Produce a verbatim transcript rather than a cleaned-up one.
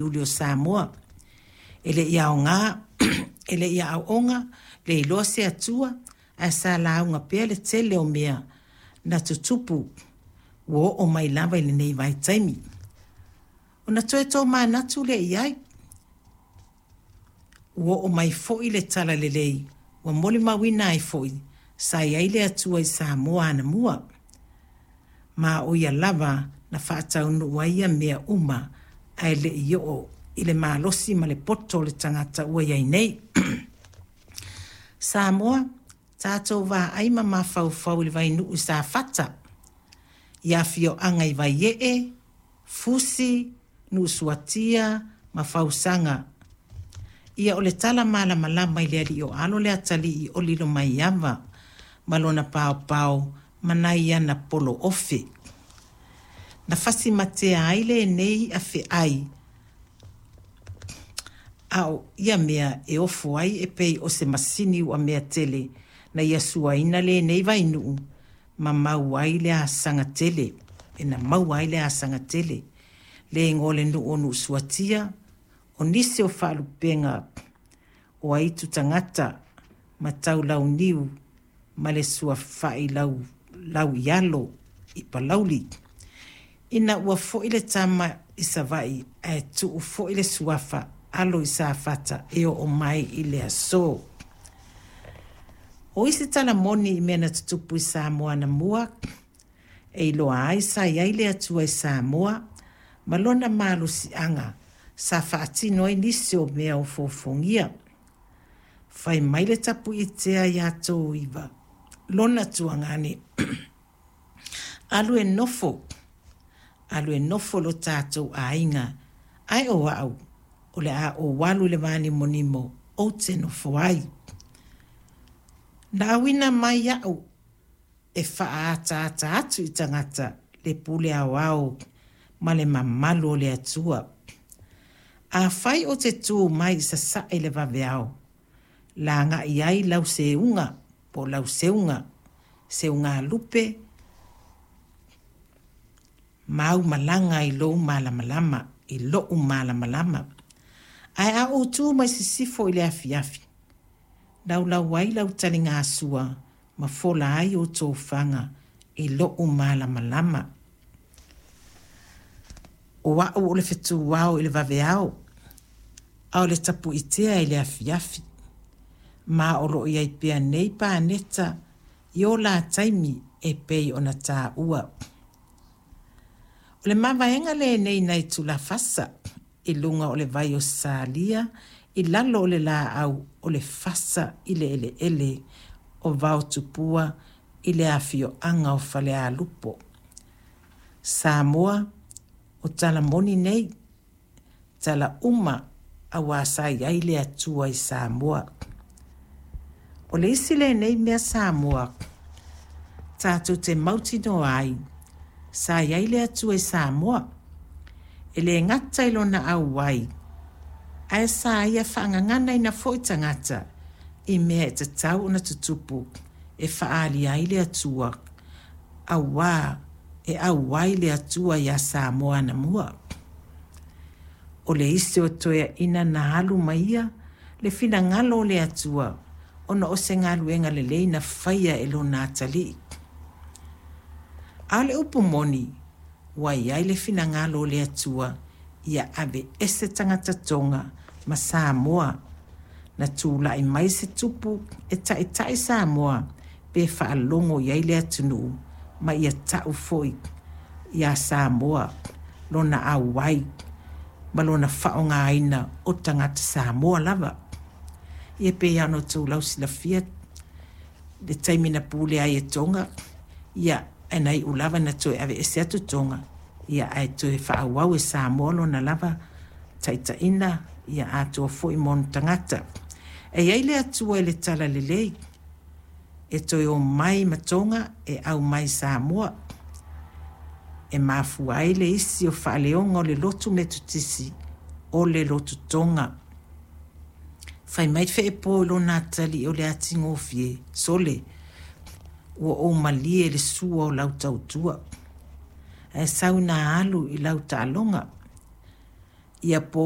Iuli o Samoa. E le i aoga, e le i aooga, le iloa se Atua, ae sa lauga pea le tele o mea na tutupu ua oo mai lava i lenei vaitaimi. Ona toe tomanatu lea i ai, ua oo mai foi le talalelei ua molimauina ai foi sa i ai le Atua i Samoa anamua. Ma o ia lava na faataunuu ai ia mea uma ae le i oo i le malosi ma le poto o le tagata ua i ai nei. Samoa, tatou vaai ma mafaufau i le vainuu i Safata, i afioaga i Vaiee, Fusi, Nuusuatia ma Fausaga. Ia o le tala malamalama i le alii o Alo le atalii o Lilomaiava ma lona paopao ma nai ana polo ofe. Na fasi matea ai lenei i'a fe'ai a o ia mea e ofo ai e pei o se masini uamea tele na ia suaina lenei vainuu ma mau ai le asaga tele, e na maua ai le asaga tele. Le igoa o le nuu o Nuusuatia, o nisi o faalupega o aitu tagata ma Taulauniu ma le suafa'i lau, Lauialo i Palauli. Ina ua fo'i le tama i Savaii ae tuu foi le suafa Alo i Safata e oo mai i le aso. O isi tala moni i mea na tutupu i Samoa anamua, e iloa ai sa i ai le Atua i Samoa ma lona malosiaga sa faatino ai nisi o mea ofoofogia. Fai mai le Tapuitea ia Toiva, lona tuagane, alu e nofo, alu e nofo lo tatou aiga, ae o au, o le a ou alu i le vanimonimo ou te nofo ai. Na auina mai au e faaataata atu i tagata le pule aoao ma le mamalu o le Atua. Afai ou te tu mai i sasae i le vaveao, lagai ai lau seuga po o lau seuga, seugalupe ma au malaga i lou malamalama, i lo'u malamalama. Ae a ou tu mai sisifo i le afiafi, laulau ai lau taligasua ma fola ai ou tofaga i lo'u malamalama. O a'u o le fetuao i le vaveao, a o le tapuitea i le afiafi. Ma o lo o i ai pea nei paneta i o la taimi e pei ona tāua. O le mavaega lenei nai Tulafasa i luga o le vai o Salia i lalo o le laau o le fasa i le eleele o Vaotupua i le afioaga o Falealupo. Samoa, o tala moni nei, tala uma auā sa i ai le Atua i Samoa. O le isi lenei mea Samoa tatou te mautinoa ai, sa i ai le Atua i Samoa. E le gata i lona auai, ae sa ia faagaganaina foi tagata i mea e tatau ona tutupu e faaali ai le Atua, auā e auai le Atua iā Samoa anamua. O le isi o toeaina na alu ma ia le finagalo o le Atua ona o se galuega lelei na faia e lona atalii. A o le upu moni, ua i ai le finagalo o le Atua ia aveese tagata Toga ma Samoa, na tulai mai se tupu e taitai Samoa pe faalogo i ai le atunuu ma ia ta'u foi iā Samoa lona auai ma lona faaaogaina o tagata Samoa lava. Ia pei lava ona outou lausilafia le taimi na pule ai e Toga, ia ae na iu lava ina toe aveese atu Toga, ia ae toe faaauau e Samoa lona lava taitaiga, ia atoa foi ma ona tagata. E i ai le Atua i le talalelei e toe o mai ma Toga e aumai i Samoa. E mafua ai le isi o faaleoga o le lotu Metotisi o le lotu Toga. Fai mai Feepo i lona atalii o le atigofie, sole, ua ou malie i le sua o lau tautua, ae sau ina alu i lau taaloga. Ia po